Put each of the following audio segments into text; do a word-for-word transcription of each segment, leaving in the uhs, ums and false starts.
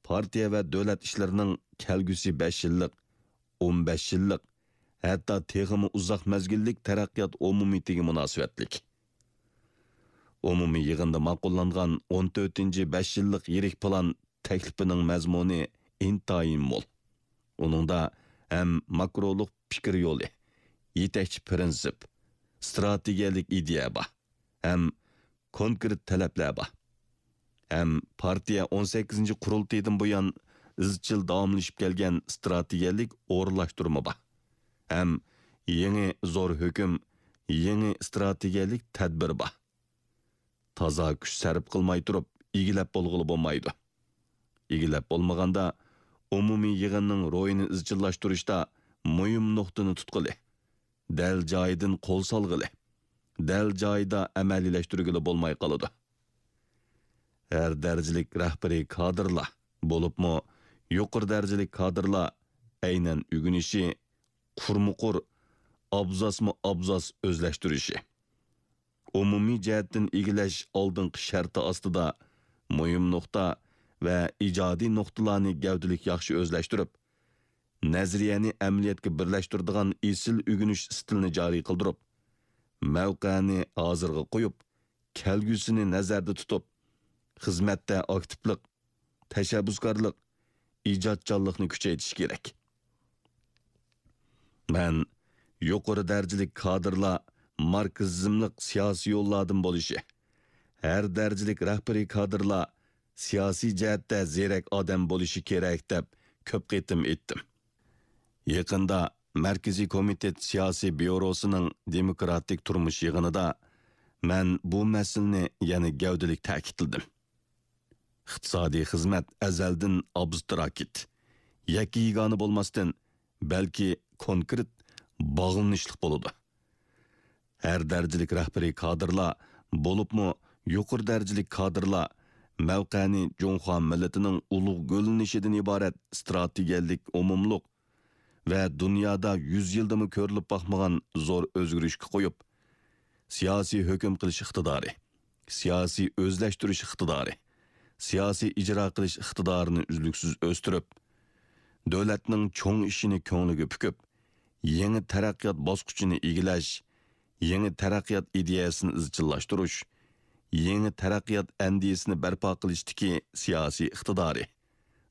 پارتىيە ۋە دۆلەت ئىشلىرىنىڭ كەلگۈسى بەش يىللىق، ئون بەش يىللىق، ھەتتا تېخىمۇ ئۇزاق مەزگىللىك تەرەققىيات ئومۇمىيىتىگە مۇناسىۋەتلىك. ئومۇمىي يىغىندا ماقۇللانغان ئون تۆتىنچى بەش يىللىق يىرىك پىلان تەكلىپىنىڭ مەزمۇنى ئىنتايىن مول. ئۇنىڭدا ھەم ماكرولۇق پىكىر يولى، يېتەكچى پىرىنسىپ، ئىستراتېگىيەلىك ئىدىيە بار، ھەم كونكرېت تەلەپلەر بار. ھەم پارتىيە ئون سەككىزىنچى قۇرۇلتىيىدىن بۇيان ئىزچىل داۋاملىشىپ كەلگەن ئىستراتېگىيەلىك ئورۇنلاشتۇرما بار. ھەم يېڭى زور ھۆكۈم، يېڭى ئىستراتېگىيەلىك تەدبىر بار. تازا كۈچ سەرپ قىلماي تۇرۇپ ئىگىلەپ بولغىلى بولمايدۇ. ئىگىلەپ بولمىغاندا، ئومۇمىي يىغىننىڭ روھىنى ئىزچىللاشتۇرۇشتا مۇھىم نۇقتىنى تۇتقىلى، دەل جايىدىن قول سالغىلى، دەل جايىدا ئەمەلىيلەشتۈرگىلى بولماي قالىدۇ. ھەر دەرىجىلىك رەھبىرىي كادىرلار، بولۇپمۇ يۇقىرى دەرىجىلىك كادىرلار ئەينەن ئۆگىنىشى، قۇرمۇقۇر، ئابزاسمۇ ئابزاس ئۆزلەشتۈرۈشى، ئومۇمىي جەھەتتىن ئىگىلەش ئالدىنقى شەرتى ئاستىدا مۇھىم نۇقتا ۋە ئىجادىي نۇقتىلارنى گەۋدىلىك ياخشى ئۆزلەشتۈرۈپ، نەزەرىيەنى ئەمەلىيەتكە بىرلەشتۈرىدىغان ئېسىل ئۆگىنىش ئىستىلىنى جارى قىلدۇرۇپ، مەۋقەنى ھازىرغا قويۇپ، كەلگۈسىنى نەزەردە تۇتۇپ، خىزمەتتە ئاكتىپلىق، تەشەببۇسكارلىق، ئىجادچانلىقنى كۈچەيتىش كېرەك. مەن يۇقىرى دەرىجىلىك كادىرلار ماركسىزملىق سىياسىي يوللاردىن بولۇشى، ھەر دەرىجىلىك رەھبىرىي كادىرلار سىياسىي جەھەتتە زېرەك ئادەم بولۇشى كېرەك، دەپ كۆپ قېتىم ئېيتتىم. يېقىندا مەركىزىي كومىتېت سىياسىي بيۇروسىنىڭ دېموكراتىك تۇرمۇش يىغىنىدا مەن بۇ مەسىلىنى يەنە گەۋدىلىك تەكىتلىدىم. ئىقتىسادىي خىزمەت ئەزەلدىن ئابستراكت، يەككە-يېگانە بولماستىن، بەلكى كونكرېت، باغلىنىشلىق بولىدۇ. ھەر دەرىجىلىك رەھبىرىي كادىرلار، بولۇپمۇ يۇقىرى دەرىجىلىك كادىرلار مەۋقەنى جۇڭخۇا مىللىتىنىڭ ئۇلۇغ گۈللىنىشىدىن ئىبارەت ئىستراتېگىيەلىك ئومۇملۇق ۋە دۇنيادا يۈز يىلدىمۇ كۆرۈلۈپ باقمىغان زور ئۆزگىرىشكە قويۇپ، سىياسىي ھۆكۈم قىلىش ئىقتىدارى، سىياسىي ئۆزلەشتۈرۈش ئىقتىدارى، سىياسىي ئىجرا قىلىش ئىقتىدارىنى ئۈزلۈكسىز ئۆستۈرۈپ، دۆلەتنىڭ چوڭ ئىشىنى كۆڭلىگە پۈكۈپ، يېڭى تەرەققىيات باسقۇچىنى ئىگىلەش، يېڭى تەرەققىيات ئىدىيەسىنى ئىزچىللاشتۇرۇش، يېڭى تەرەققىيات ئەندىزىسىنى بەرپا قىلىشتىكى سىياسىي ئىقتىدارى،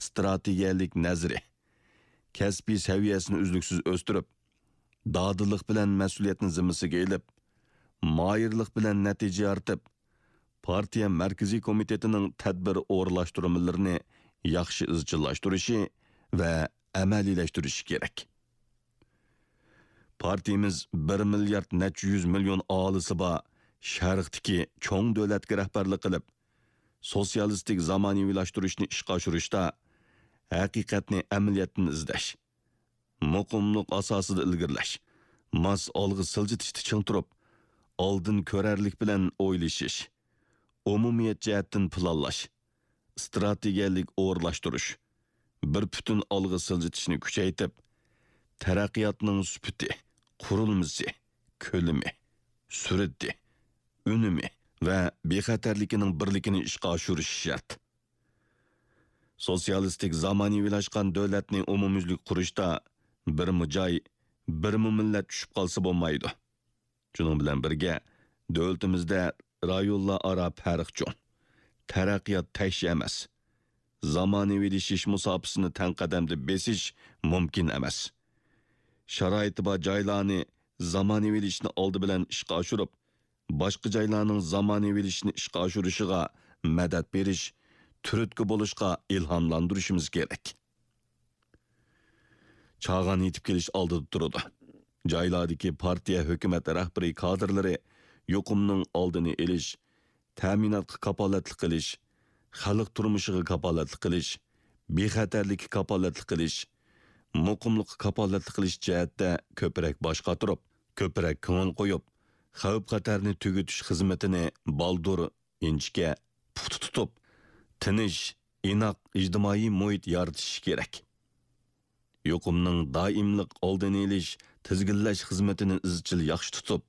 ئىستراتېگىيەلىك نەزىرى، كەسپىي سەۋىيەسىنى ئۈزلۈكسىز ئۆستۈرۈپ، دادىللىق بىلەن مەسئۇلىيەتنى زىممىسىگە ئېلىپ، ماھىرلىق بىلەن نەتىجە يارىتىپ، پارتىيە مەركىزىي كومىتېتىنىڭ تەدبىر ئورۇنلاشتۇرمىلىرىنى ياخشى ئىزچىللاشتۇرۇشى ۋە ئەمەلىيلەشتۈرۈشى كېرەك. پارتىيىمىز بىر مىليارد نەچچە يۈز مىليون ئاھالىسى بار شەرقتىكى چوڭ دۆلەتكە رەھبەرلىك قىلىپ، سوتسىيالىستىك زامانىۋىلاشتۇرۇشنى ئىشقا ئاشۇرۇشتا ھەقىقەتنى ئەمەلىيەتتىن ئىزدەش، مۇقىملىق ئاساسىدا ئىلگىرىلەش، ماس ئالغا سىلجىتىشتا چىڭ تۇرۇپ، ئالدىن كۆرەرلىك بىلەن ئويلىشىش، ئومۇمىيەت جەھەتتىن پىلانلاش، ئىستراتېگىيەلىك ئورۇنلاشتۇرۇش، بىر پۈتۈن ئالغا سىلجىتىشنى كۈچەيتىپ، تەرەققىياتنىڭ سۈپىتى، قۇرۇلمىسى، كۆلىمى، سۈرئىتى، ئۈنۈمى ۋە بىخەتەرلىكىنىڭ بىرلىكىنى ئىشقا ئاشۇرۇش شەرت. سوتسىيالىستىك زامانىۋىلاشقان دۆلەتنى ئومۇميۈزلۈك قۇرۇشتا بىرمۇ جاي، بىرمۇ مىللەت چۈشۈپ قالسا بولمايدۇ. شۇنىڭ بىلەن بىرگە، دۆلىتىمىزدە رايونلار ئارا پەرق چوڭ، تەرەققىيات تەكشى ئەمەس، زامانىۋىلىشىش مۇساپىسىنى تەڭ قەدەمدە بېسىش مۇمكىن ئەمەس. شارائىتى بار جايلارنى زامانىۋىلىشىشنى ئالدى بىلەن ئىشقا ئاشۇرۇپ، باشقا جايلارنىڭ زامانىۋىلىشىشنى ئىشقا ئاشۇرۇشىغا مەدەت بېرىش، تۈرتكە بولۇشقا ئىلھاملاندۇرۇشىمىز كېرەك. چاغان يېتىپ كېلىش ئالدىدا تۇرىدۇ. جايلاردىكى پارتىيە، ھۆكۈمەت رەھبىرىي كادىرلىرى يۇقۇمنىڭ ئالدىنى ئېلىش، تەمىناتقا كاپالەتلىك قىلىش، خەلق تۇرمۇشىغا كاپالەتلىك قىلىش، بىخەتەرلىككە كاپالەتلىك قىلىش، مۇقىملىققا كاپالەتلىك قىلىش جەھەتتە كۆپرەك باش قاتۇرۇپ، كۆپرەك كۆڭۈل قويۇپ، خەۋپ-خەتەرنى تۈگىتىش خىزمىتىنى بالدۇر، ئىنچىكە، پۇختا تۇتۇپ، تىنچ، ئىناق ئىجتىمائىي مۇھىت يارىتىش كېرەك. يۇقۇمنىڭ دائىملىق ئالدىنى ئېلىش، تىزگىنلەش خىزمىتىنى ئىزچىل ياخشى تۇتۇپ،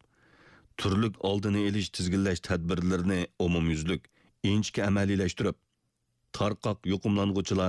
تۈرلۈك ئالدىنى ئېلىش، تىزگىنلەش تەدبىرلىرىنى ئومۇميۈزلۈك، ئىنچىكە ئەمەلىيلەشتۈرۈپ، تارقاق يۇقۇملانغۇچىلار